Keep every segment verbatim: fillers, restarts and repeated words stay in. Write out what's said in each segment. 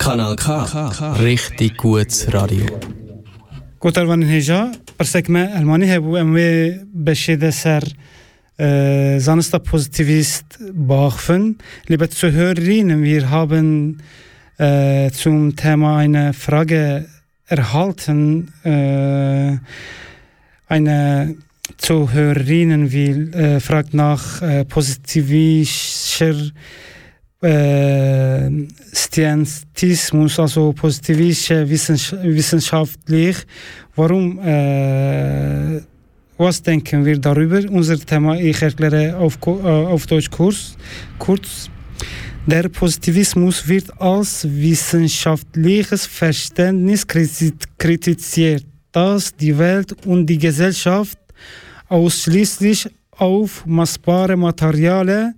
Kanal K, Richtig gut Radio. Gotarvanên hêja, pirsek me Elmanî hebû, em wê beşê de ser, e, zanista pozitîvîst biaxifin. Lê bet zu Hörerinnen, wir haben, e, zum Thema eine Frage erhalten, e, eine Zuhörerin will, äh, fragt nach, äh, positivischer, äh, Scientismus, also positivische Wissenschaftler. Warum, äh, was denken wir darüber? Unser Thema, ich erkläre auf, Ko- äh, auf Deutsch kurz. kurz. Der Positivismus wird als wissenschaftliches Verständnis kriti- kritisiert, das die Welt und die Gesellschaft ausschließlich auf messbare materielle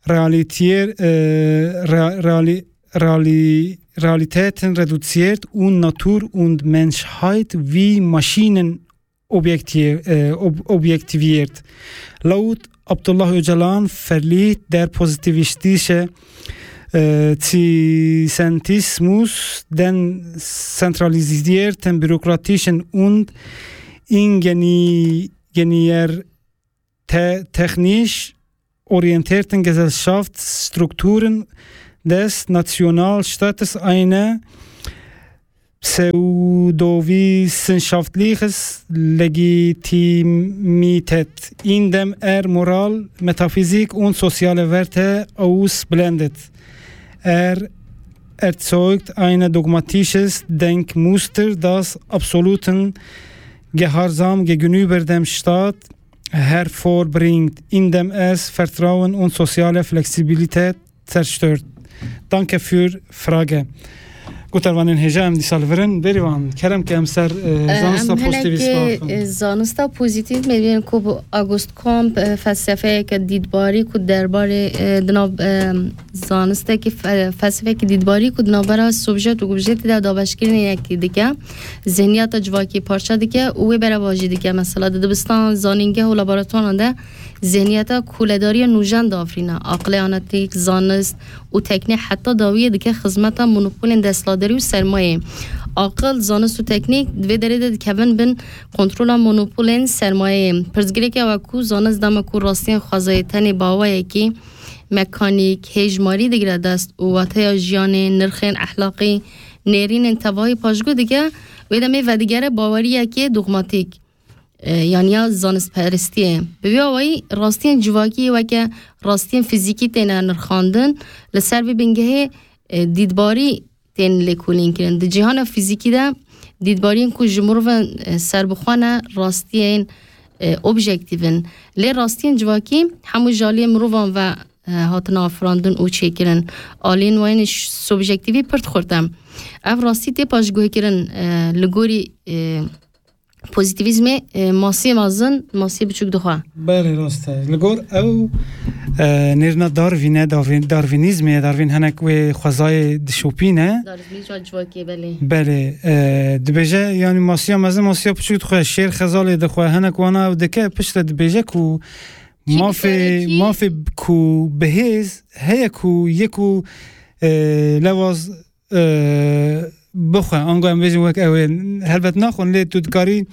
Realität, äh, Reali Reali Realitäten reduziert und Natur und Menschheit wie Maschinen objekti äh, ob objektiviert. Laut Abdullah Öcalan verliert der positivistische äh, Scientismus den zentralisierten, bürokratischen und ingenieur te technisch orientierten Gesellschaftsstrukturen des Nationalstaates eine pseudowissenschaftliches Legitimität, indem er Moral, Metaphysik und soziale Werte ausblendet. Er erzeugt ein dogmatisches Denkmuster, das absoluten Gehorsam gegenüber dem Staat hervorbringt, indem es Vertrauen und soziale Flexibilität zerstört. Danke für Frage. Gotarvanên hêja, em dîsa li vir in. Bêrîvan, kerem ke em ser, eh, Em zanista hinek, pozitivîst biaxivin. Eh, zanista pozîtîf me bên ku bi August Comte, eh, felsefeyeke dîtbarî ku derbarê, eh, di nav, eh, zanistekî fe- felsefeyeke dîtbarî ku di navbera subjet û objetê de dabeşkirinê yekî dike, zihniyeta civakî parçe dike û wê berevajî dike. Mesela di dibistan, zanîngeh û laboratuwaran de zihniyeta koledariya nûjen diafirîne. Aqilê analitîk, zanist û teknîk heta dawiyê dike xizmeta monopolên desthilatdarî û sermayeyê. Aqil, zanist û teknîk di vê derê de dikevin bin kontrola monopolên sermayeyê. Pirsgirêk ew e ku zanist dema ku rastiyên xwezayê tenê bi awayekî mekanîk, hêjmarî digire dest û wateya jiyanê, nirxên exlaqî, nêrînên tevahî paşguh dike, wê demê vedigere baweriyekê dogmatîk, e, yan ya zanistperestiyê. Bi vî awayî rastiyên civakî weke rastiyên fizîkî têne nirxandin, li ser vê bingehê, e, dîtbarî tên lêkolîn kirin. Di cîhana fizîkî de dîtbariyên ku ji mirovan, e, serbixwe ne, rastiyên, e, objektîv in. Lê rastiyên civakî hemû ji aliyê mirovan ve, e, hatine afirandin û çêkirin. Aliyên wan ên ş- subjektîvî pir xurt e. Ev rastî tê paşguhkirin, e, li gorî, e, pozîtîvîzmê, e, masiyê mezin, masiyê biçûk dixwe. Belê, rast e. Li gor ew, e, nêrina Darwîn e, Darwîn, Darwînîzmê ye, Darwîn hinek wê xwezayê dişopîne. Darwînîzma civakê, belê. Belê, e, dibêje, yanî masiya mezin, masiya biçûk dixwe, şêr xezalê dixwe, hinek wana ew dike, piştre dibêje ku Kî mafê, dikare kî mafê ku bi hêz heye ku yê ku, e, lewaz e, bixwe, ango em bêjin wek ew ê, helbet naxwin, lê tu dikarî,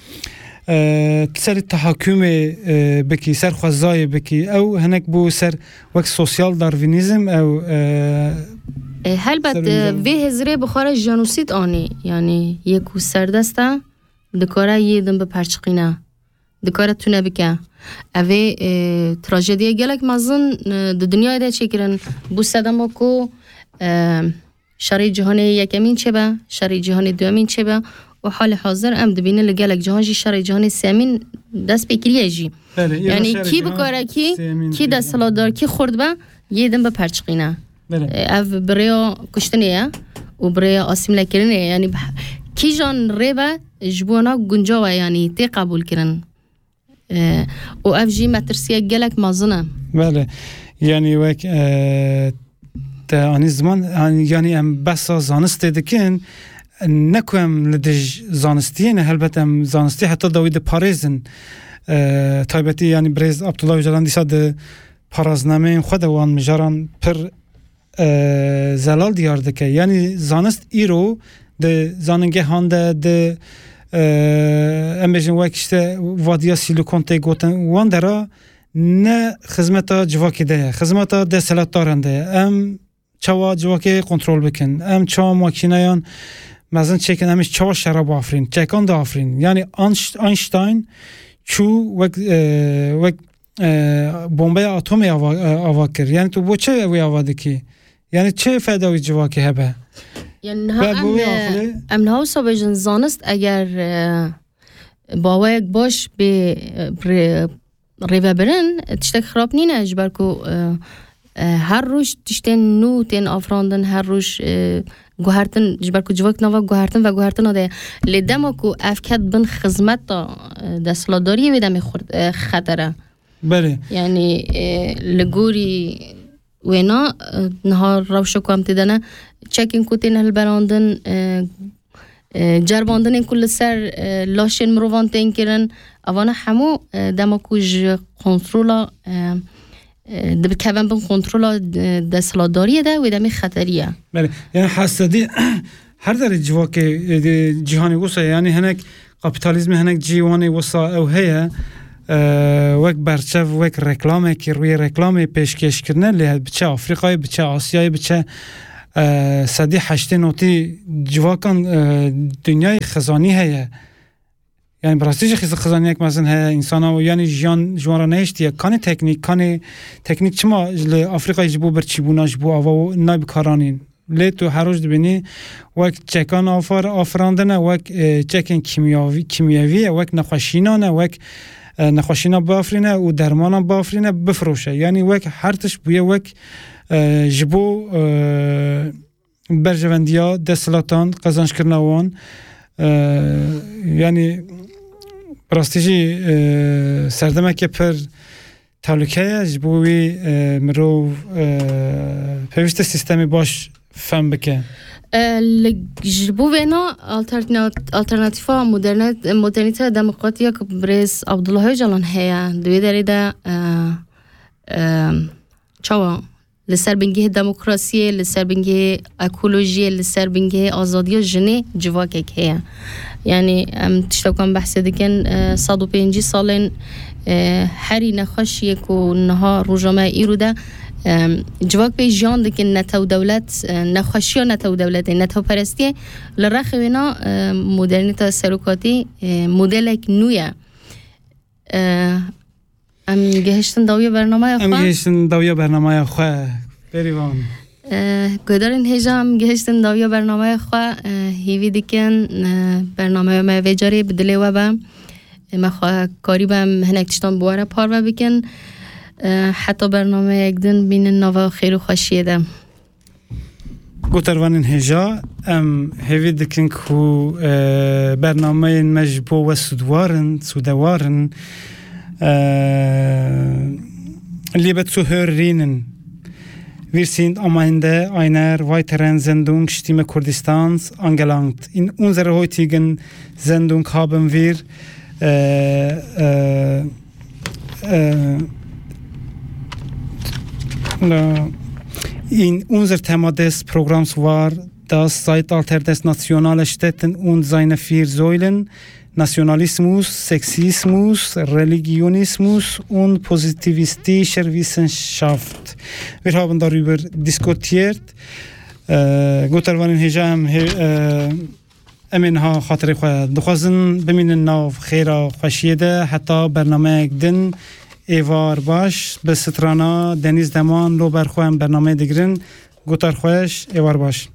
e, tu serî tehakumê, e, bikî, ser xwezayê bikî. Ew hinek bû ser wek sosyal darwinîzm, ew, e, E, helbet, ser e, vê hezirê bi xwe re jenosîd anî. Yanî yê ku serdest e, dikare yê din biperçiqîne. Dikare tune bike. Ev ê, e, trajediya gelek mezin, e, di dinyayê de çêkirin. Bû sedema ku, e, Şerê Cîhanê Yekemîn çêbe, Şerê Cîhanê Duyemîn çêbe û halê hazir em dibînin li gelek cihan jî Şerê Cîhanê Sêyemîn dest pê kiriye jî. Belê, îro Yanî şerê kî cîhan bikare kî, sêyemîn kî têne. Desthilatdar, kî xurt be, yê din biperçiqîne. Belê. E, ev bi rêya kuştinê ye û bi rêya asîmlekirinê ye. Yanî bi he-, kîjan rê be ji bo wana guncaw e, yanî tê qebûlkirin. E, û ev jî metirsiyek gelek mezin e. Belê. Yanî wek, e, te anî ziman, an-, yanî em behsa zanistê dikin, ne ku em li dij zanistiyê ne, helbet em zanistî heta dawî diparêzin. E, taybetî yanî birêz Abdullah Öcalan dîsa di paraznameyên xwe de wan mijaran pir e, zelal diyar dike. Yanî zanist îro di zanîngehan de, di, e, em bêjin wek işte vadiya Silikon tê gotin, wan dera ne xizmeta civakê de ye, xizmeta desthilatdaran de ye. Em çawa civakê kontrol bikin, em çawa makîneyan mezin çêkin, em jî çawa şera biafirîn, çekan diafirîn. Yanî Einst-, Einstein çû wek, e, wek, e, bombeya atomê ava, e, ava kir. Yanî tu bo çi wê ava dikî? Yanî çi feda wî civakê hebe? Yani niha Ve em, bu e, aqilê em niha wisa bêjin zanist eger, e, baweyek baş bê, e, rê-, rêvebirin, tiştek xirab nîne, ji ber ku, e, e, her roj tiştên nû tên afirandin, her roj, e, guhertin, ji ber ku civak nava guhertin ve guhertina de ye. Lê dema ku ev ket bin xizmeta, e, desthilatdariyê, wê demê xurt-, e, xeter e. Belê. Yani, e, li gorî wêna, e, niha rewşa ku em tê de ne, çekên ku tên hilberandin, e, e, ceribandinên ku li ser, e, laşên mirovan tên kirin, evana hemû, e, dema ku ji kontrola, e, e, dibikevin bin kontrola, e, desthilatdariyê de, wê demê xeterî ye. Belê. Yani hesedî her derê civakê, e, de cîhanê wisa ye. Yani hinek kapîtalîzmê hinek cî wanê wisa ew heye, e, wek berçev, wek reklamekî, rûyê reklamê pêşkêş kirine, lê biçe Afrîkayê, biçe Asyayê, biçe, e, sedî heştê notî civakan, e, dinyayê xizanî heye. Yani bi rastî jî xiz-, xizaniyek mezin heye, însana, yani jiyan ji wan re nehiştiye. Kanê teknîk, kanê teknîk çima li Afrîkayê ji bo birçîbûna, ji bo ava nayê bikaranîn? Lê tu her roj dibînî wek çekan afar-, afirandine, wek, e, çekên kîmyavî-, kîmyevî ye, wek nexweşînan e, wek, e, nexweşîna biafirîne û dermanan biafirîne, bifiroşe. Yanî wek her tişt bûye wek, e, ji bo, e, berjevendiya desthilatan, qezancekirina wan, e, yanî bi rastî jî, e, serdemeke pir tehlûke ye, ji bo wî, e, mirov, e, pêwîst e sîstemê baş fem bike. E, li, ji bo vêna alternat-, alternatîfa moderne-, modernîteya demokratî ya ku birêz Abdullah Ocalan heye, di wê derê de, e, e, çawa li ser bingehê demokrasiyê, li ser bingehê ekolojiyê, li ser bingehê azadiya jinê civakek heye. Yani em tişta ku em behsê dikin, e, sed û pêncî salên, e, herî nexweşiyê ku niha roja me îro de, e, civak pê jiyan dikin, netew dewlet, e, nexweşiya netew dewletê, netewperestiyê li rexê wêna, e, modernîta serokatî, e, modelek nû ye. E, em gihiştin dawiya bernameya Em xwe. gihiştin dawiya bernameya xwe. Bêrîvan. E, guhdarên hêja, em gihiştin dawiya bernameya xwe. E, hîvî dikin, e, bernameya me vê carê bi dilê we be. E, me xwe karî be em hinek tiştan bi we re parve bikin. E, heta bernameyek din bînin nava xêr û xweşiyê de. Gotarvanên hêja, em hêvî dikin ku, e, bernameyên me ji bo we sûdwar in, sûdewar in. E, Liebe Zuhörerinnen, wir sind am Ende einer weiteren Sendung Stimme Kurdistans angelangt. In unserer heutigen Sendung haben wir, äh, äh, äh, äh, in unser Thema des Programms war das Zeitalter des nationalen Städten und seine vier Säulen, Nationalismus, Sexismus, Religionismus und positivistischer Wissenschaft. Wir haben darüber diskutiert. Äh, Gotarvanên hêja, em hê-, äh, Em ê niha xatirê xwe dixwazin bimînin nav xêra xweşiyê de heta bernameyek din. Êvar baş, bi strana Denîz Deman, lo ber xwe em bernameyê digirin. Gotar xweş, êvar baş.